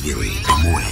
2.1.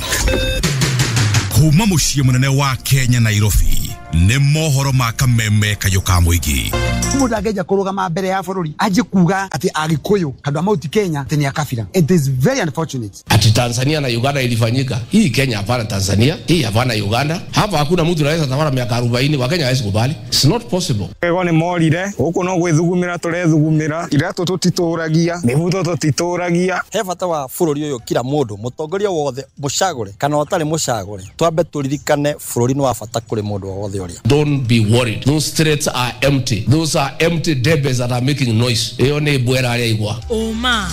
Kuma mũciĩ mũnene wa Kenya, Nairobi, nĩ mohoro ma kameme kayũ ka mũingĩ. Mundu angeja kurugama mbere ya bururi anjie kuga ati Agikuyu andu a Mount Kenya ati ni a kabira, it is very unfortunate. Ati Tanzania na Uganda ilifanyika. Hii Kenya hapana Tanzania, hii hapana Uganda. Hapa hakuna mtu anaweza tawala miaka 40, Wakenya hawezi kubali. It's not possible. Ego nĩ morire gũkũ no gwĩthugumĩra tũrethugumĩra, iratũ tũtitũragia, mĩbuto tũtitũragia. He bata wa bũrũri ũyũ, kila mũndũ mũtongoria wothe mũcagũre kana ũtarĩ mũcagũre, twambe tũririkane bũrũri nĩ wa bata kũrĩ mũndũ o wothe ũrĩa. Don't be worried. Those threats are empty. Those are empty debes that are making noise. Iyo nĩ mbwera arĩa igwa. Ũma,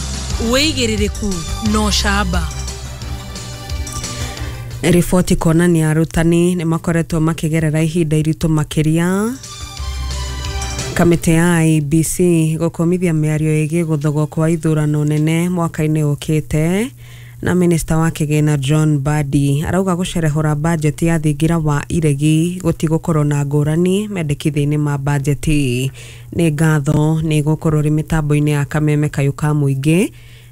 wĩigĩrĩrĩku na ũcamba. Riboti kuonania arutani nĩ makoretwo makĩgerera ihinda iritũ makĩria. Kamĩtĩ ya IEBC gũkũmithia mĩario ĩgiĩ gũthogwo kwa ithurano nene mwaka-inĩ ũkĩte. Na minista wa kĩgĩna John Mbadi arauga gũcerehũra bajeti ya thingira wa iregi gũtigũkorwo na ngũrani mendekithia-inĩ ma bajeti. Nĩ ngatho nĩ gũkorwo rĩ mĩtambo-inĩ ya kameme kayũ ka mũingĩ.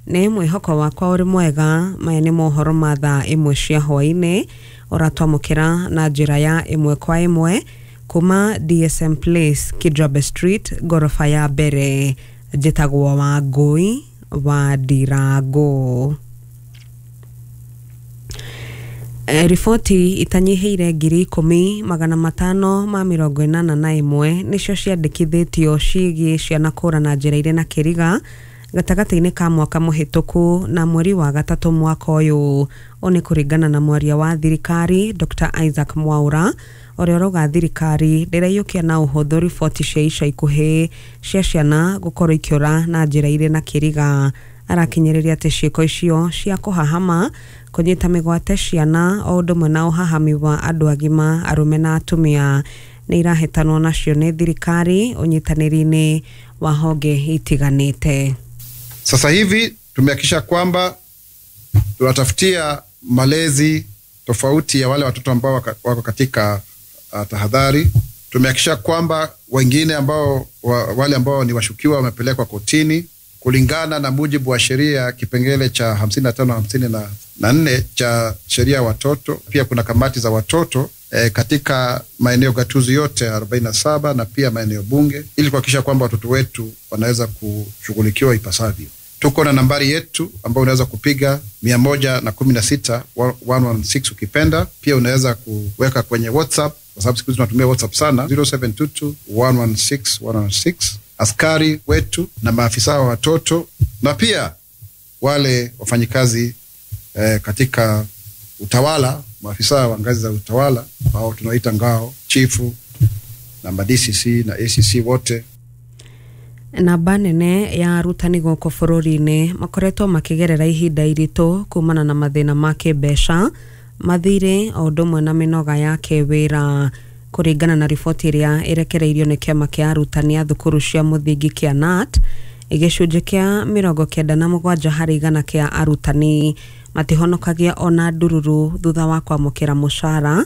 Nĩ mwĩhoko wakwa ũrĩ mwega. Maya nĩ mohoro ma thaa 1 cia hwaĩ-inĩ ũratwamũkĩra na njĩra ya 1 kwa 1 kuma DSM Place, Kijabe Street, ngoroba ya mbere. Njĩtagwo Wangũi wa Ndirango. Riboti itanyihĩire 10,581 nĩcio ciandĩkithĩtio ciĩgiĩ ciana kũra na njĩra irĩ na kĩriga gatagatĩ-inĩ ka mwaka mũhĩtũku na mweri wa gatatũ mwaka ũyũ. Ũũ nĩ kũringana na mwaria wa thirikari Dr. Isaac Mwaura ũrĩa ũrauga thirikari ndĩraiyũkia na ũhũthũ riboti cia ica ikuhĩ cia ciana gũkorwo ikĩũra na njĩra irĩ na kĩriga. Arakinyĩrĩria atĩ ciĩko icio cia kũhahama, kũnyita mĩgwate ciana o ũndũ ũmwe na ũhahami wa andũ agima arũme na atumia nĩ irahĩtanwo nacio nĩ thirikari ũnyitanĩri-inĩ wa honge itiganĩte. Sasa hivi tumehakikisha kwamba tunatafutia malezi tofauti ya wale watoto ambao wako katika tahadhari. Tumehakikisha kwamba wengine ambao wale ambao ni washukiwa wamepelekwa kotini kulingana na mujibu wa sheria kipengele cha 55 54 cha sheria watoto. Pia kuna kamati za watoto katika maeneo gatuzi yote 47 na pia maeneo bunge ili kuhakikisha kwamba watoto wetu wanaweza kushughulikiwa ipasavyo. Tuko na nambari yetu ambayo unaweza kupiga 116 116 ukipenda. Pia unaweza kuweka kwenye WhatsApp kwa sababu siku hizi tunatumia WhatsApp sana, 0722 116 116. Askari wetu na maafisa wa watoto na pia wale wafanyikazi katika utawala, maafisa wa ngazi za utawala au tunaita ngao, chifu na DCC na ACC wote. Namba nene ya arutani gũkũ bũrũri-inĩ makoretwo makĩgerera ihinda iritũ kumana na mathĩna ma kĩmbeca, mathirĩ o ũndũ ũmwe na mĩnoga ya kĩwĩra. Kũringana na riboti ĩrĩa ĩrekereirio nĩ kĩama kĩa arutani a thukuru cia mũthingi kĩa KNUT, gĩcunjĩ kĩa 97 harĩ igana kĩa arutani matihonokagia ona ndururu thutha wa kwamũkĩra mũcara,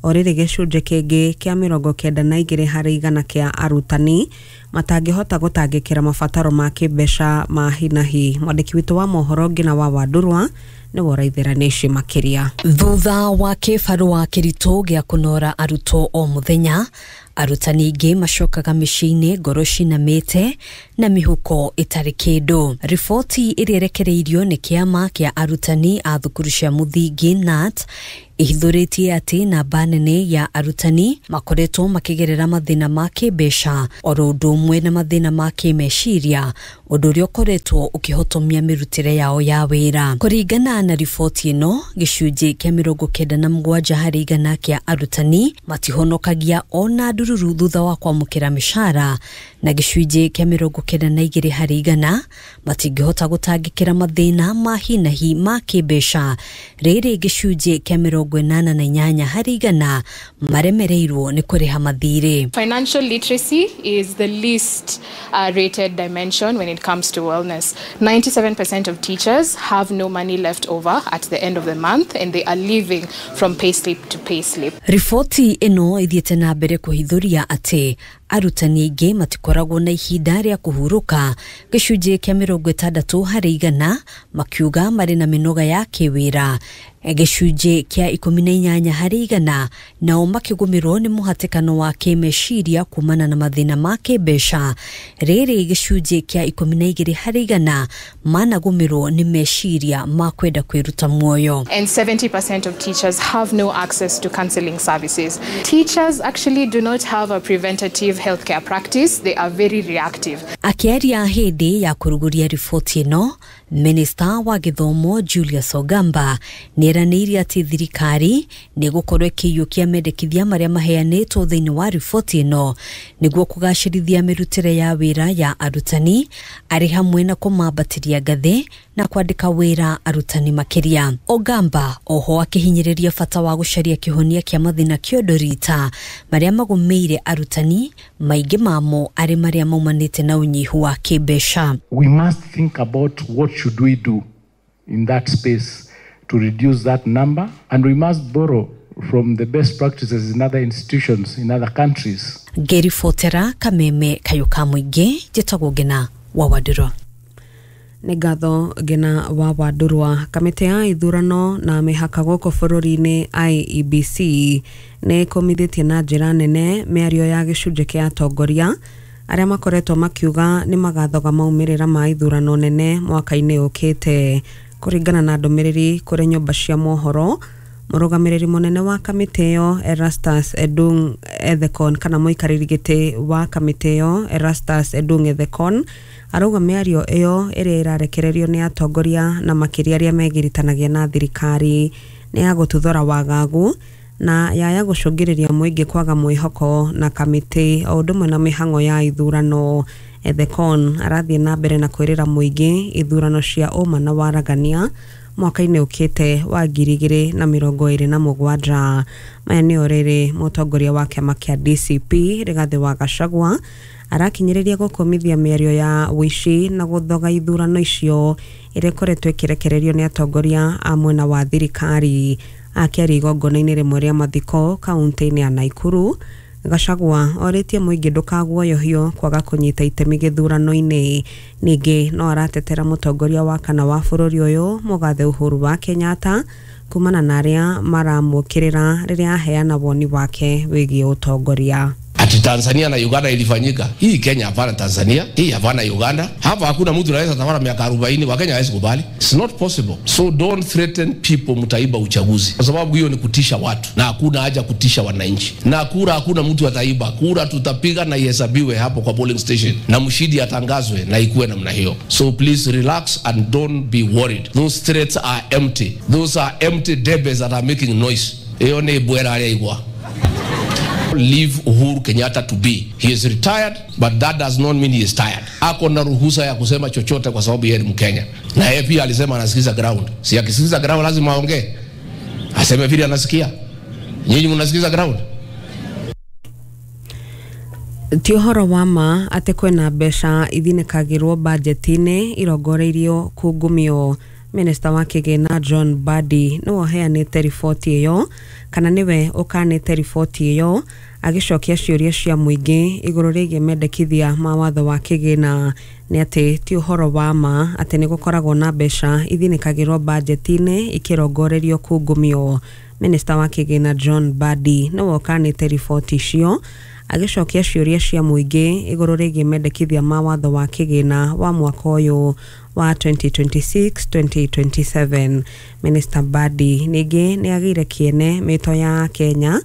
o rĩrĩ gĩcunjĩ kĩngĩ kĩa 92 harĩ igana kĩa arutani matangĩhota gũtangĩkĩra mabataro ma kĩmbeca ma hi na hi. Mwandĩki witũ wa mohoro Ngina wa Wandurwa nĩwe ũraithĩra makĩria. Thutha wa kĩbarũa kĩritũ gĩa kũnora arutwo o mũthenya, arutani aingĩ macokaga mĩciĩ-inĩ ngoro cinamĩte na mĩhuko ĩtarĩ kĩndũ. Riboti ĩrĩa ĩrekereirio nĩ kĩama kĩa arutani a thukuru cia mũthingi KNUT ĩhithũrĩtie atĩ namba nene ya arutani makoretwo makĩgerera mathĩna ma kĩmbeca oro ũndũ ũmwe na mathĩna ma kĩmeciria, ũndũ ũrĩa ũkoretwo ũkĩhotomia mĩrutĩre yao ya wĩra. Kũringana na riboti ĩno, gĩcunjĩ kĩa 97 harĩ igana kĩa arutani matihonokagia ona ndururu thutha wa kwamũkĩra mĩcara, na gĩcunjĩ kĩa 92 harĩ igana matingĩhota gũtangĩkĩra mathĩna ma hi na hi ma kĩmbeca. Rĩrĩ gĩcunjĩ kĩa 88 harĩ igana maremereirwo nĩ kũrĩha mathirĩ. Financial literacy is the least rated dimension when it it comes to wellness. 97% of teachers have no money left over at the end of the month, and they are living from payslip to payslip. Riboti ĩno ĩthiĩte na mbere kũhithũria atĩ arutani aingĩ matikoragwo na ihinda rĩa kũhurũka, gĩcunjĩ kĩa 60% makiuga marĩ na mĩnoga ya kĩwĩra, gĩcunjĩ kĩa 18% nao makĩgũmĩrwo nĩ mũhatĩkano wa kĩmeciria kumana na mathĩna ma kĩmbeca, rĩrĩ gĩcunjĩ kĩa 12% managũmĩrwo nĩ meciria ma kwenda kwĩruta muoyo. And 70% of teachers have no access to counseling services. Teachers actually do not have a preventative healthcare practice. They are very reactive. Akĩaria hĩndĩ ya kũrugũria riboti ĩno, Minista wa gĩthomo Julius Ogamba nĩeranĩire atĩ thirikari nĩ ĩgũkorwo ĩkĩiyũkia mendekithia marĩa maheanĩtwo thĩinĩ wa riboti ĩno nĩguo kũgacĩrithia mĩrutĩre ya wĩra ya arutani, arĩ hamwe na kũmambatĩria ngathĩ na kwandĩka wĩra arutani makĩria. Ogamba oho akĩhinyĩrĩria bata wa gũcaria kĩhonia kĩa mathĩna kĩondorita marĩa magũmĩire arutani, maingĩ mamo arĩ marĩa maumanĩte na ũnyihu wa kĩmbeca. We must think about what should we do in that space to reduce that number, and we must borrow from the best practices in other institutions in other countries. Ngĩribotera Kameme Kayũ ka Mũingĩ, njĩtagwo Ngina wa Wandũrwa. Nĩ ngatho Ngina wa Wandũrwa. Kamĩtĩ ya ithurano na mĩhaka gũkũ bũrũri-inĩ IEBC nĩ ĩkũmithĩtie na njĩra nene mĩario ya gĩcunjĩ kĩa atongoria arĩa makoretwo makiuga nĩ magathoga maumĩrĩra ma ithurano nene mwaka-inĩ ũkĩte. Kũringana na ndũmĩrĩri kũrĩ nyũmba cia mohoro, mũrũgamĩrĩri mũnene wa kamĩtĩ ĩyo Erastus Edung Ethekon, kana mũikarĩri gĩtĩ wa kamĩtĩ ĩyo Erastus Edung Ethekon, arauga mĩario ĩyo ĩrĩa ĩrarekererio nĩ atongoria na makĩria arĩa megiritanagia na thirikari nĩ ya gũtuthũra wagagu na yaya gũcũngĩrĩria mũingĩ kwaga mwĩhoko na kamĩtĩ o ũndũ ũmwe na mĩhang'o ya ithurano. Ethekon arathiĩ na mbere na kwĩrĩra mũingĩ ithurano cia ũma na waragania mwaka-inĩ ũkĩte wa 2027. Maya nĩo rĩrĩ mũtongoria wa kĩama kĩa DCP Rigathĩ wa Gachagua arakinyĩrĩria gũkũmithia mĩario ya ũici na gũthoga ithurano icio ĩrĩa ĩkoretwo ĩkĩrekererio nĩ atongoria a mwena wa thirikari. Akĩaria igongona-inĩ rĩmwe rĩa mathiko kaunti-inĩ ya Nakuru, Gachagua orĩtie mũingĩ ndũkaguoyohio kwaga kũnyita itemi gĩthurano-inĩ. Ningĩ no aratetera mũtongoria wa kana wa bũrũri ũyũ mũgathe Uhuru wa Kenyatta kumana na arĩa maramũkĩrĩra rĩrĩa aheana woni wake wĩgiĩ ũtongoria. Ati Tanzania na Uganda ilifanyika. Hii Kenya hapana Tanzania, hii hapana Uganda. Hapa hakuna mtu anaweza tawala miaka 40, Wakenya hawezi kubali. It's not possible. So don't threaten people mtaiba uchaguzi. Kwa sababu hiyo ni kutisha watu na hakuna haja kutisha wananchi. Na kura hakuna mtu ataiba. Kura tutapiga na ihesabiwe hapo kwa polling station na mshindi atangazwe na ikuwe namna hiyo. So please relax and don't be worried. Those threats are empty. Those are empty debes that are making noise. Hiyo ni bwera ya. Leave Uhuru Kenyatta to be. He is retired, but that does not mean he is tired. Ako na ruhusa ya kusema chochote kwa sababu yeye ni Mkenya. Na yeye pia alisema anasikiza ground. Si akisikiza ground lazima aongee. Aseme vile anasikia. Nyinyi mnasikiza ground? Ti ũhoro wa ma atĩ kwĩna mbeca ithinĩkagĩrwo bajeti-inĩ irongoreirio kungumio. Minista wa kĩgĩna John Mbadi nĩwe ũheanĩte riboti ĩyo, kana nĩwe ũkanĩte riboti ĩyo agĩcokia ciũria cia mũingĩ igũrũ rĩgiĩ mendekithia ma watho wa kĩgĩna. Nĩ atĩ ti ũhoro wa ma atĩ nĩ gũkoragwo na mbeca ithinĩkagĩrwo bajeti-inĩ ikĩrongorerio kungumio. Minista wa kĩgĩna John Mbadi nĩwe ũkanĩte riboti icio agĩcokia ciũria cia mũingĩ igũrũ rĩgiĩ mendekithia ma watho wa kĩgĩna wa mwaka ũyũ wa 2026-2027. Minister Mbadi ningĩ nĩ agĩire kĩene mĩto ya Kenya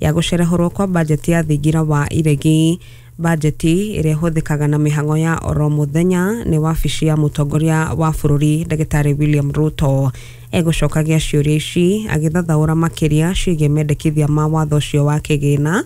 ya gũcerehũrwo kwa bajeti ya thingira wa iregi. Bajeti ĩrĩa ĩhũthĩkaga na mĩhang'o ya oro mũthenya nĩ wabici ya mũtongoria wa bũrũri Ndagĩtarĩ William Ruto. Egũcokagia ciũria ici agĩthathaũra makĩria ciĩgiĩ mendekithia ma watho ũcio wa kĩgĩna,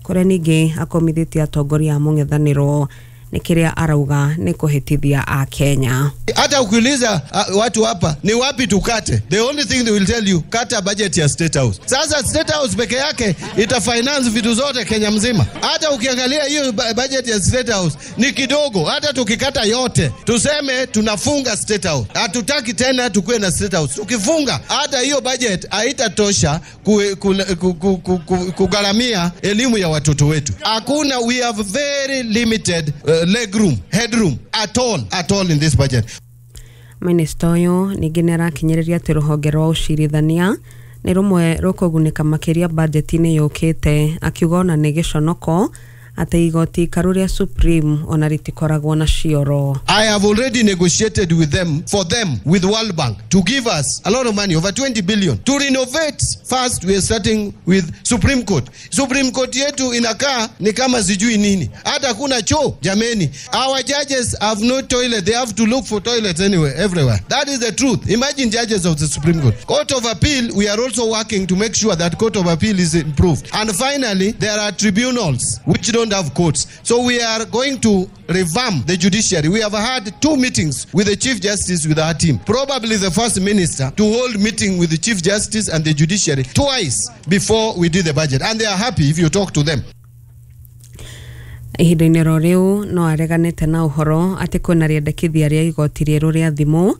kũrĩa ningĩ akomithĩtie atongoria a mũng'ethanĩro Nĩ kĩrĩa arauga nĩ kũhĩtithia a Kenya. Hata ukiuliza watu hapa ni wapi tukate, the only thing they will tell you, kata budget ya State House. Sasa State House peke yake ita finance vitu zote Kenya mzima. Hata ukiangalia hiyo budget ya State House ni kidogo. Hata tukikata yote, tuseme tunafunga State House, hatutaki tena tukue na State House, tukifunga hata hiyo budget haitatosha kugharamia elimu ya watoto wetu. Hakuna, we have very limited legroom, headroom at all in this budget. Minista ũyũ ningĩ nĩ arakinyĩrĩria atĩ rũhonge rwa ũcirithania nĩ rũmwe rũkũgunĩka makĩria bajeti-inĩ yũkĩte, akiuga ona nĩ gĩconoko atĩ igoti ikaru rĩa Supreme ona rĩtikoragwo na cioro. I have already negotiated with them, for them, with World Bank, to give us a lot of money, over 20 billion, to renovate. First, we are starting with Supreme Court. Supreme Court yetu inakaa ni kama sijui nini. Hata kuna choo, jameni. Our judges have no toilet. They have to look for toilets anywhere, everywhere. That is the truth. Imagine judges of the Supreme Court. Court of Appeal, we are also working to make sure that Court of Appeal is improved. And finally, there are tribunals which don't have courts. So we are going to revamp the judiciary. We have had 2 meetings with the Chief Justice with our team. Probably the first minister to hold meeting with the Chief Justice and the judiciary twice before we did the budget. And they are happy if you talk to them. Ihinda-inĩ ro rĩu no areganĩte na ũhoro atĩ kwĩna rĩendekithia rĩa igoti rĩerũ rĩa thimũ,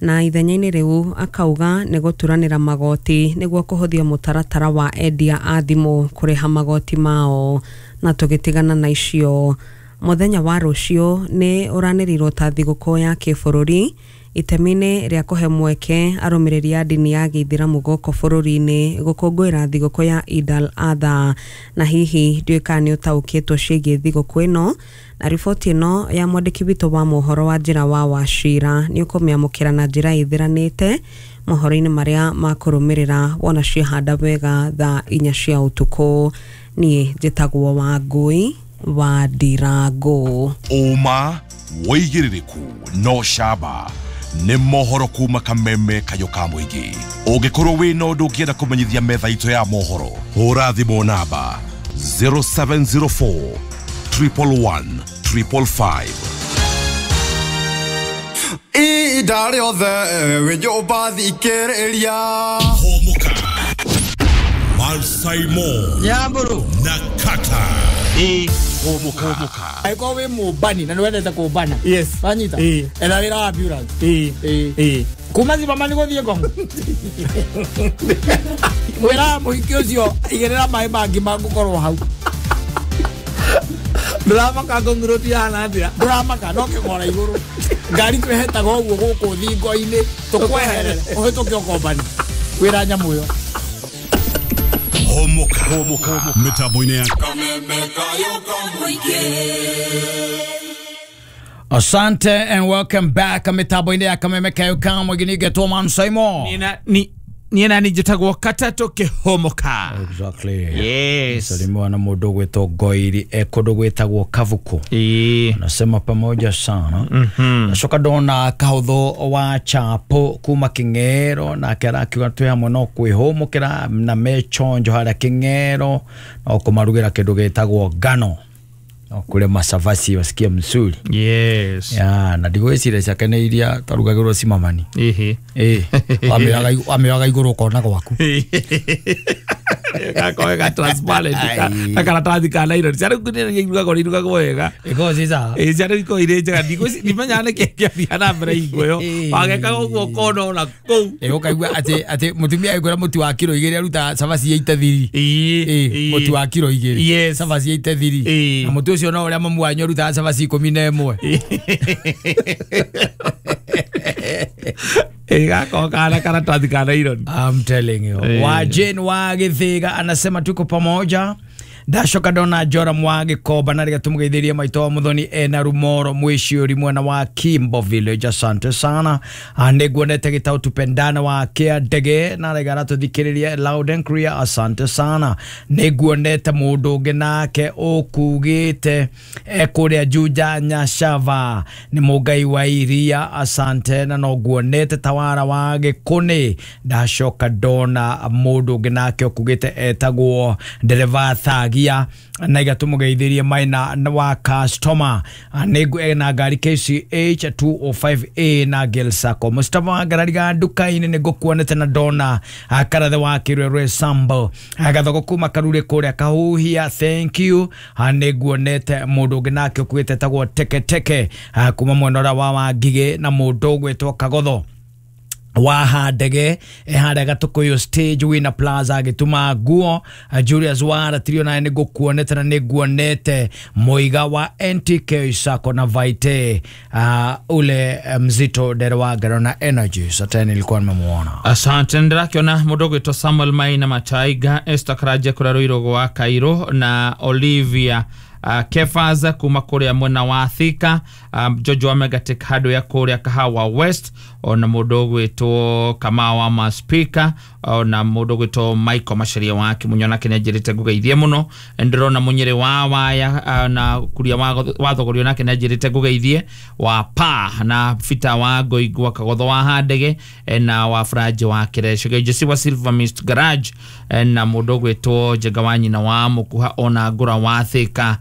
na ithenya-inĩ rĩu akauga nĩ gũturanĩra magoti nĩguo kũhũthia mũtaratara wa endia a thimũ kũrĩha magoti mao. Na tũgĩtigana na icio, mũthenya wa rũciũ nĩ ũranĩrĩirwo ta thigũkũ ya kĩbũrũri itemi-inĩ rĩa kũhe mweke arũmĩrĩri a ndini ya gĩithĩramu gũkũ bũrũri-inĩ gũkũngũĩra thigũkũ ya Eid al-Adha. Na hihi ndiũĩ kana nĩ ũtaũkĩtwo ciĩgiĩ thigũkũ ĩno, na riboti ĩno ya mwandĩki witũ wa mohoro wa njĩra wa Wachira nĩ ũkũmĩamũkĩra na njĩra ĩthiranĩte mohoro-inĩ marĩa makũrũmĩrĩra wona ciehanda wega thaa 4 cia ũtukũ. Niĩ njĩtagwo Wangũi wa Ndirango. Ũma wĩigĩrĩrĩku no camba nĩ mohoro kuma kameme kayo ka mũingĩ. Ũngĩkorwo wĩna ũndũ ũngĩenda kũmenyithia metha itũ ya mohoro, hũra thimũ namba 0704 111 555. Ihinda rĩothe wĩ nyũmba thikĩrĩria. Hũmũka Malsaimo Nyamburu na Kata. Hũmũka. Angĩkorwo wĩ mũmbani na nĩwendete kũmbana, yes, wanyita etha wĩra wa ambulance. Kuma Zimmerman gũthiĩ Ngong wĩra mũhiki ũcio igĩrĩra maĩ mangĩ mangũkorwo hau. Ndũramaka Ngong Road ihana atĩa? Ndũramaka no kĩgora igũrũ ngari twĩhetaga ũguo gũkũ thingo-inĩ tũkweherere ũhĩtũke ũkombani wĩra nyamũ ĩyo. Hũmũka mĩtambo-inĩ ya Asante and welcome back. Mitambo-inĩ ya Kameme Kayo ka Mũingĩ getwo Man Simon. Niĩ na njĩtagwo Katatũ Kĩhũmũka. Exactly. Yes. Salimiwa na mũndũ gwĩtwo Ngoiri kũndũ gwĩtagwo Kavuku. Anasema pamoja sana. Nacoka ndona kahũthũ wa Chapo kuma Kĩng'ero, nake arakiuga twĩ hamwe no kwĩhũmũkĩra na mechonjo harĩa Kĩng'ero no kũmarugĩra kĩndũ gĩtagwo ngano no kũrĩa macabasi wasikia mzuri. Yes. Ya, na ndigwĩciria ciake nĩ iria tarugagĩrwo cimamani. Ĩhĩ. Wamĩoyaga igũrũ ũkona gwaku. Gakorwo ga transparent ka karatathi ka nylon. Ciana irugagwo irugagwo wega. Ikoragwo ciĩ sawa. Ĩĩ, ciana ikoragwo irĩ njega. Ndimenyaga nĩkĩĩ kĩathiaga na mbere hingo ĩyo. Wagekaga ũguo ũkona ona kũu. Ĩĩ, ũkaigua atĩ mũtumia agĩkwĩra mũtu wa kiro 2 aruta cabaci 83. Ĩĩ, mũtu wa kiro 2. Yes. Cabaci 83. Na mũtu ũcio no ũrĩa mamu wanyu arutaga cabaci 11. Gakorwo kana karatathi ka nylon. I'm telling you. Wa Jane wa Githiga anasema tuko pamoja. Ndacoka ndona Joram wa Gĩkomba na rĩga tũmũgeithĩrie maitũ wa Mũthoni ena Rumoro mwĩciũri mwena wa Kimbo Village. Asante sana. Nĩnguonete gĩtaũ tupendana wa Kĩandege na rĩga aratũthikĩrĩria loud and clear. Asante sana. Nĩnguonete mũndũ ũngĩ nake ũkugĩte kũrĩa Juja Nyashava nĩ Mũngai wa Iria. Asante. Na no nguonete Tawara wa Gĩkũnĩ. Ndacoka ndona mũndũ ũngĩ nake ũkugĩte etagwo Ndereba Thagi. Karagia na igatumugeithirie maina wa customer nĩngu na ngari KCH 205A na Gil Sacco. Mustafa wa ngarariga nduka-inĩ nĩngũkuonete na ndona karathe wa Kĩrwerwe Sambo gathoko kuma Karure kũrĩa Kahuhia, thank you. Nĩnguonete mũndũ ũngĩ nake ũkuĩte tagwo Teketeke kuma mwena ũrĩa wa Wangigĩ na mũndũ ũgwĩtwo Kagotho wa Handege harĩa Gatukuyu stage wina plaza agĩtuma nguo. Julius Wara tirio naye nĩngũkuonete na nĩnguonete Mũiga wa NTK Sacco na Vaite ule mzito dere wa Garona Energy sasa nilikuwa nimemuona. Asante. Ndĩrakĩona mũndũ ũgwĩtwo Samuel Maina Mataiga, Esther Karanja kũrĩa Rũirũgo wa Cairo na Olivia Kefas kuma kuria mwena wa Thika, Jojo wa Megatek hardware kuria Kahawa West, ona mũndũ ũgwĩtwo Kamau wa Maspika, ona mũndũ ũgwĩtwo Michael Macharia wa Kimunyona nake nĩanjĩrĩte ngũgeithie mũno. Ndĩrona Mũnyĩrĩ wa Waya na Kuria wa Thogorio nake nĩanjĩrĩte ngũgeithie, wa Pa na Fita wa Ngoingwa Kagotho wa Handege na wa Franje wa Kireco Jesse wa Silver Mist Garage na mũndũ ũgwĩtwo Njenga wa nyina wa Mũkuha ona Ngũra wa Thika,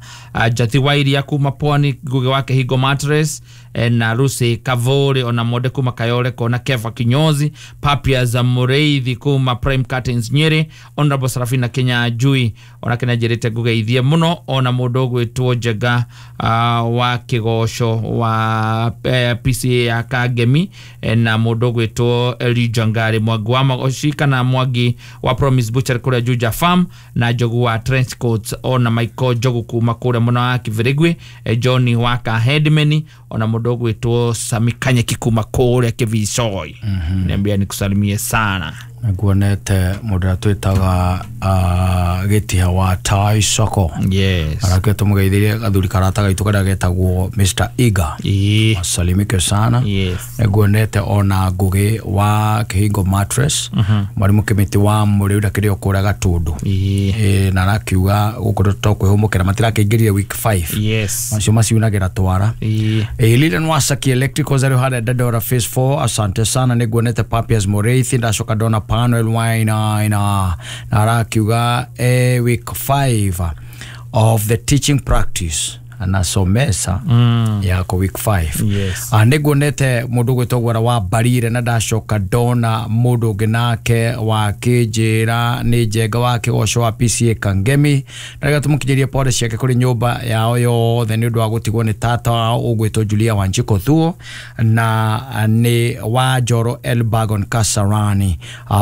Jati wa Iria kuma Pwani, Ngugi wa Kihingo Mattress na Lucy Kavore ona Monde kuma Kayole kona Kefa Kinyozi, Papia za Mureithi kuma Prime Curtains Nyeri, Honorable Serafina Kenya Jui ona kena njirite ngugeithie muno, ona mundu ugwitwo Njega wa Kigoco wa PCA ya Kangemi na mundu ugwitwo Elijah Ngari Mwangi wa Magoci kana Mwangi wa Promise Butcher kuria Juja Farm na Njogu wa Trench Coats ona Michael Njogu kuma kuria muno wa Kivirigwi, Johnny wa Kahedmeni ona mundu ugwitwo Sami Kanyeki kuma kuria Kivicoi. Niambia nikusalimie sana. Nguonete mundu atwitaga Gĩtiha wa Tai Soko. Yes. Arake tumugeithirie gathuri karata gaitu karia getagwo Mr. Iga. Asalimike sana. Yes. Nguonete ona Ngugi wa Kihingo Mattress. Mwarimu Kimiti wa Mũrĩu ndakĩrĩ o kũrĩa Gatundu. Na arakiuga gũkũ tũkwĩhũmũkĩra matirakĩingĩrire week 5. Yes. Macio maciunagĩra twara. Lilian Wasaki Electricals arĩ harĩa Dandora Phase 4. Asante sana. Nĩnguonete Papias Mũrĩithi ndacoka ndona Panuel Wainaina na arakiuga week 5 of the teaching practice anasomesa yako week 5. Yes. Nĩnguonete mũndũ ũgwĩtwo Gwara wa Barire na ndacoka ndona mũndũ ũngĩ nake wa Kĩnjĩra nĩ Njenga wa Kĩgoco wa PCA Kangemi na rĩrĩa tũmũkinyĩrie pore ciake kũrĩ nyũmba yao yothe nĩ ũndũ wa gũtigwo nĩ tata wao ũgwĩtwo Julia Wanjikũ Thuo na nĩ wa Njoro Elbagon Kasarani.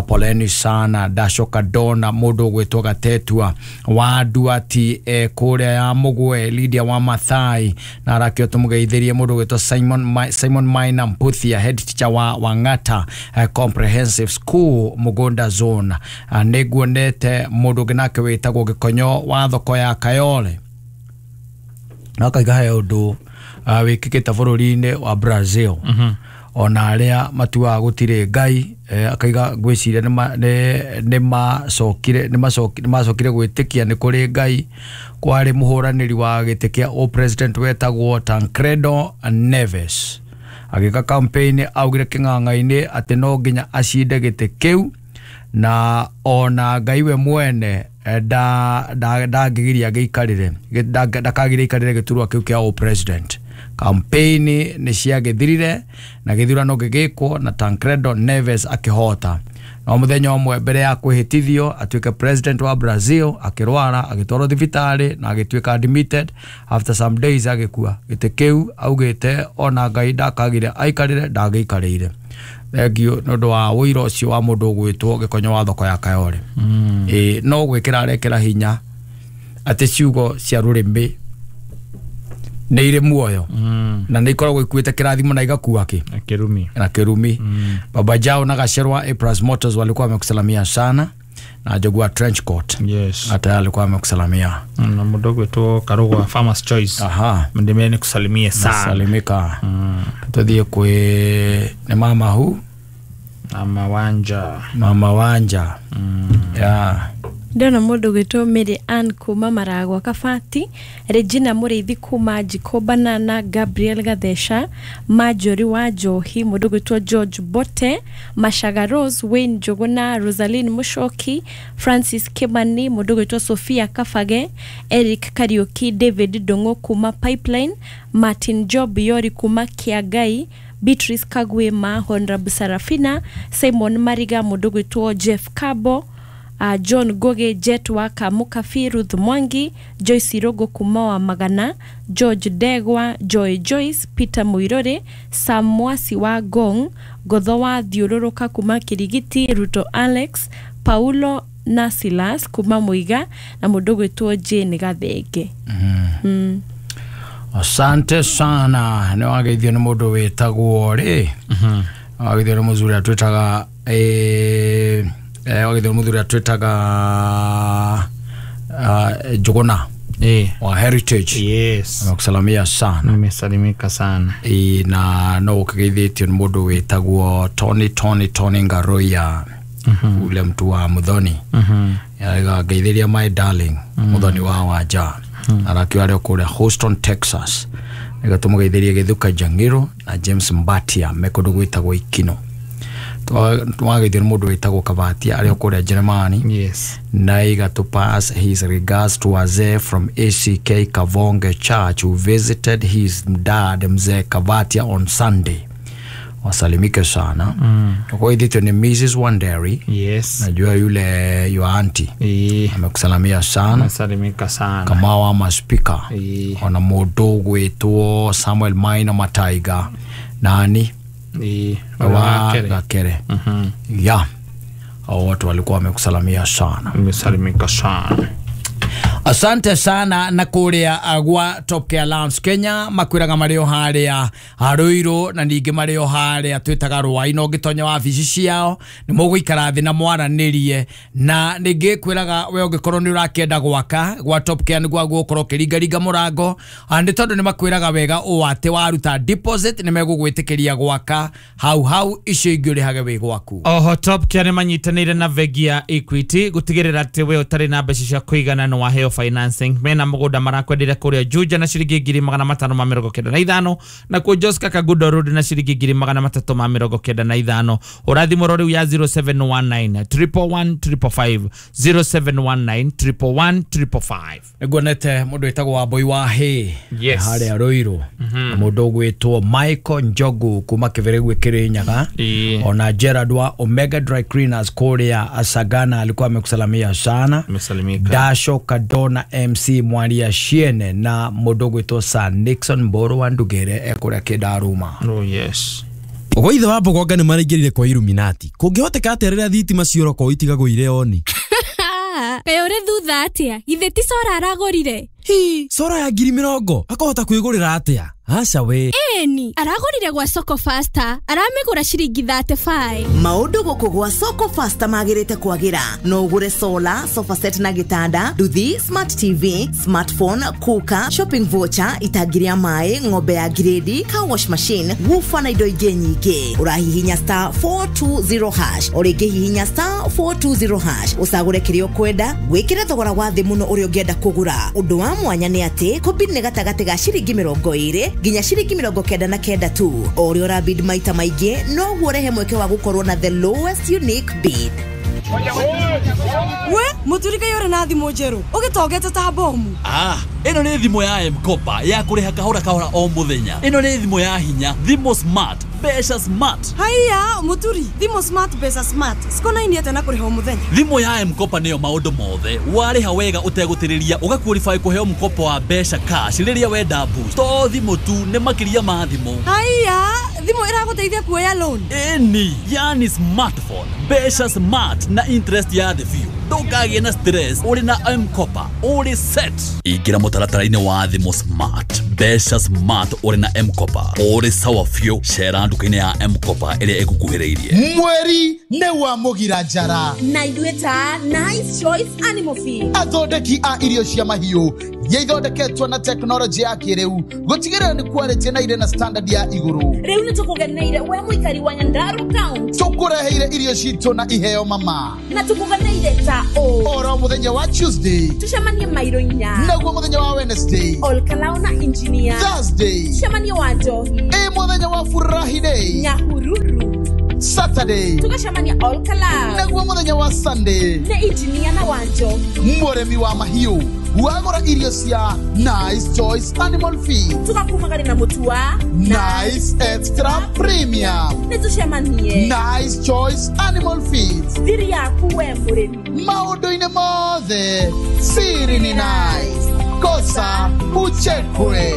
Poleni sana. Ndacoka ndona mũndũ ũgwĩtwo Gatetua wa Nduati kũrĩa ya Mũgwe, Lydia wa Mathai na arakio tumugeithirie mundu gwitwo Simon Maina Mputhia, head teacher wa Wangata Comprehensive School Mugunda Zone. Nĩnguonete mundu ũngĩ nake wĩtagwo Gĩkonyo wa thoko ya Kayole na akaiga he ũndũ wĩkĩkĩte bũrũri-inĩ wa Brazil. Ona arĩa matuaga gũtirĩ Ngai akaiga ngwĩciria nĩ macokire gwĩtĩkia nĩ kũrĩ Ngai. Kwarĩ mũhũranĩri wa gĩtĩ kĩa o president wetagwo Tancredo Neves agĩka campaign augire kĩng'ang'a-inĩ atĩ no nginya acinde gĩtĩ kĩu na ona Ngai we mwene ndangĩgiria gĩikarĩre ndakagiria ikarĩre gĩturwa kĩu kĩa o president. Campaign nĩ ciagĩthirire na gĩthurano gĩgĩkwo na Tancredo Neves akĩhota. No mũthenya ũmwe mbere ya kwĩhĩtithio atuĩke president wa Brazil akĩrwara agĩtwarwo thibitarĩ na agĩtuĩka admitted. After some days agĩkua. Gĩtĩ kĩu augĩte ona Ngai ndakagire aikarĩre ndagĩikarĩire. Thengio nĩ ũndũ wa ũira ũcio wa mũndũ ũgwĩtwo Gĩkonyo wa thoko ya Kayole. No gwĩkĩra arekĩra hinya atĩ ciugo cia rũrĩmĩ nĩ irĩ muoyo na nĩ ikoragwo ikuĩte kĩrathimo na igakua kĩ na kĩrumi na kĩrumi. Baba Jao na Gacerwa A+ Motors walikuwa wamekusalamia sana na Jogwa Trench Coat. Yes. Hata alikuwa amekusalamia na mũndũ ũgwĩtwo Karũgwa Farmers Choice. Aha. Ndimeni nikusalimie sana. Salimika. Tuthiĩ kwĩ nĩ mama hu Mama Wanja. Mama Wanja. Yeah. Ndona mũndũ gwĩtwo Mary Ann kuma Maragwa Kabati, Regina Mũrĩithi kuma Njiko Banana, Gabriel Gatheca, Marjorie wa Njohi, mũndũ gwĩtwo George Bote, Mashaga Rose, Wayne Njũgũna, Rosaline Mũcoki, Francis Kimani, mũndũ gwĩtwo Sophia Kabage, Eric Kariuki, David Ndũng'ũ kuma Pipeline, Martin Job Yori kuma Kiagai, Beatrice Kagwema, Honorable Sarafina, Simon Mariga, mũndũ gwĩtwo Jeff Kabo, John Goge, Jet Waka, Mukafi, Ruth Mwangi, Joyce Irogo kuma wa Magana, George Degwa, Joy Joyce, Peter Muirore, Sam Mwasi wa Gong, Gotho wa Thiũrũrũka kuma Kirigiti, Ruto Alex, Paulo na Silas kuma Muiga na mũndũ gwĩtwo Jane Gathenge. Asante sana. Nĩ wageithio nĩ mũndũ wĩtagwo rĩ, wageithio nĩ mũthuri atwĩtaga wageithio nĩ mũthuri atwĩtaga Njũgũna wa Heritage. Yes. Amekusalamia sana. Nimesalimika sana. Na no ũkĩgeithĩtio nĩ mũndũ wĩtagwo Tony Ngaroya, ule mtu wa Muthoni. Ngeithĩria my darling Muthoni wa Wanja. Arakiwa arĩ o kũrĩa Houston, Texas. Nĩgetha tũmũgeithĩrie Gĩthuka Njang'ĩro na James Mbatia me kũndũ gwĩtagwo Ikino. Twageithio nĩ mũndũ wĩtagwo Kabatia arĩ o kũrĩa Jeremani. Yes. Na iga to pass his regards to Wazee from ACK Kavonge Church who visited his dad Mzee Kabatia on Sunday. Wasalimike sana. Kwa ni Mrs. Wanderi. Yes. Najua yule your auntie. Amekusalamia sana. Amesalimika sana. Kama wa maspika. Ona mũndũ gwĩtwo Samuel Maina Mataiga. Nani? Wa Gakere. Ya. Hao watu walikuwa wamekusalamia sana. Amesalimika sana. Asante sana na kuria gwa Top Care Lounge Kenya makwiraga marĩ o harĩa Ruiru na ningĩ marĩ o harĩa twĩtaga Rwai no ngĩtonya wabici ciao nĩ mũgũikara thĩ na mwaranĩrie na ningĩ kwĩraga we ũngĩkorwo nĩ ũrakĩenda gwaka gwa Top Care nĩguo gũkorwo ũkĩringaringa mũrango nĩ tondũ nĩ makwĩraga wega ũũ atĩ waruta deposit nĩ megũgwĩtĩkĩria gwaka hau hau icio ingĩ ũrĩhage wĩ gwaku. Oho Top Care nĩ manyitanĩire na bengi ya Equity gũtigĩrĩra atĩ we ũtarĩ na mbeca cia kũigana nĩ waheo financing mena mugunda marakwendire kuria Juja na ciringi 595 na kuo Joska Kagudo Road na ciringi 395 urathimwo riu ya 0719 111 555 0719 111 555. Niguonete mundu witagwo Wambui wa Hay Yes. haria Ruiru na mundu ugwitwo Michael Njogu kuma Kĩbĩrĩgwe Kĩrĩnyaga ona Gerard wa Omega Dry Cleaners kuria Asagana alikuwa amekusalamia sana. Amesalimika. Dasho Kadona MC Mwaria Shiene na mundu ugwitwo Sir Nixon Mboro wa Ndugere ekuria Kĩndaruma. Oh yes. Ogo ithe wa Mbogonga nĩ maraingĩrire kwa Illuminati. Kũngĩhoteka atĩa rĩrĩa thitima ciora itigagwo irĩ oni? Kaĩ ũrĩ thutha atĩa? Githĩ ti cora aragũrire? Hi, cora ya 20,000 akahota kwĩgũrĩra atĩa? Aca we. Ĩni, aragũrire gwa Soko Faster, aramĩgũra ciringi 35. Maũndũ gũkũ gwa Soko Faster magĩrĩte kwagĩra. No ũgũre solar, sofa set na gĩtanda, nduthi, smart TV, smartphone, cooker, shopping voucher, itangi rĩa maĩ, ng'ombe ya grade, car wash machine, woofer na indo ingĩ nyingĩ. Ũrahihinya star 420 hash, o rĩngĩ hihinya star 420 hash, ũcagũre kĩrĩa ũkwenda, wĩkĩre thogora wa thĩ mũno ũrĩa ũngĩenda kũgũra. Ũndũ wa mwanya nĩ atĩ kũbid nĩ gatagatĩ ga ciringi 20 nginya ciringi 99 tu. O ũrĩa ũrabid maita maingĩ noguo ũrehe mweke wa gũkorwo na the lowest unique bid. We muturika yore na thimũ njerũ ũgĩtongete ta bomu. Ĩno nĩ thimũ ya M-Kopa ya kũrĩha kahora kahora o mũthenya. Ĩno nĩ thimũ ya hinya, thimũ smart, mbeca smart. Haiya muturi, thimũ smart mbeca smart cikonaini atĩa na kũrĩha o mũthenya? Thimũ ya M-Kopa nĩyo maũndũ mothe. Warĩha wega ũtegũtĩrĩria ũgaqualify kũheo mkopo wa mbeca cash rĩrĩa wenda boost. To thimũ tu, nĩ makĩria ma thimũ. Haiya, thimũ ĩragũteithia kuoya loan? Ĩni, yani smartphone, mbeca smart na interest ya thĩ biũ. Ndũkagĩe na stress ũrĩ na M-Kopa, ũrĩ set. Ingĩra mũtaratara-inĩ wa thimũ smart, Mbeca smart ũrĩ na M-Kopa ũrĩ sawa biũ. Cera nduka-inĩ ya M-Kopa ĩrĩa ĩgũkuhĩrĩirie. Mweri nĩ wa mũgira njara na ithuĩ ta Nice Choice Animal Feed, athondeki a irio cia mahiũ iria ithondeketwo na tekinoronjĩ ya kĩrĩu gũtigĩrĩra nĩ quality na irĩ na standard ya igũrũ. Rĩu nĩ tũkũgeneire we mũikari wa Nyandarua County. Tũkũreheire irio citũ na iheo mama. Na tũkũgeneire ta ũ oro mũthenya wa Tuesday tũcemanie mairo 4, naguo mũthenya wa Wednesday Olkalao na engineer, Thursday tũcemanie wa Njohi, ĩ mũthenya wa Furahi Day Nyahururu, Saturday tũgacemania Olkalao, naguo mũthenya wa Sunday nĩ engineer na wa Njohi. Mũrĩmi wa mahiũ wagũra irio cia Nice Choice Animal Feed tũgakumagari na mũtu wa Nice Extra Premium. Nĩ tũcemanie Nice Choice Animal Feed, thiri yaku we mũrĩmi. Maũndũ-inĩ mothe siri ni nice, kosa uchekwe.